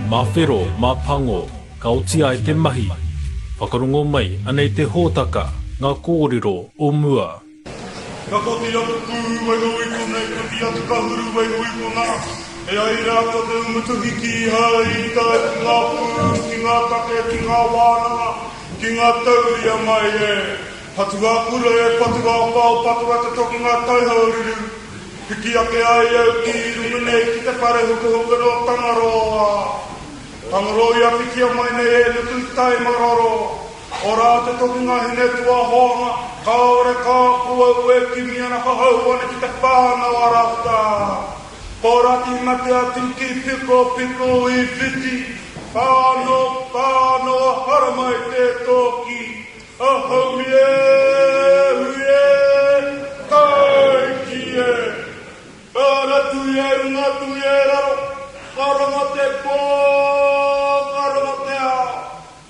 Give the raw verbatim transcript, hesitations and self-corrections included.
Mā whero, mā pango, ka oti ai te mahi. Whakarongo mai, anei te hōtaka, ngā kōrero o mua. Ka koti atu pū waiho i konei, koti atu ka huru waiho i konā. E ai rā ko te umutuhi kīhai i tae ki ngā pū, ki ngā take, ki ngā wānanga, ki ngā tauria mai e. Patu ā kura e, patu ā pao, patu a te tokinga taihaururu. Piki ake ai au ki runga nei ki te whare hukahuka no Tangaroa. Tangaroa i awhitia mai nei e Nuku tai maroro. Ora te tokinga hine tuahoanga, kāore kā ko au e kimi ana ka hau ana ki te whānau a Rata. Porati mate atu ki piko piko i whiti, whāno whāno haramai te toki. Ahau e, hui e, taiki e. Ara tui e runga tui e raro,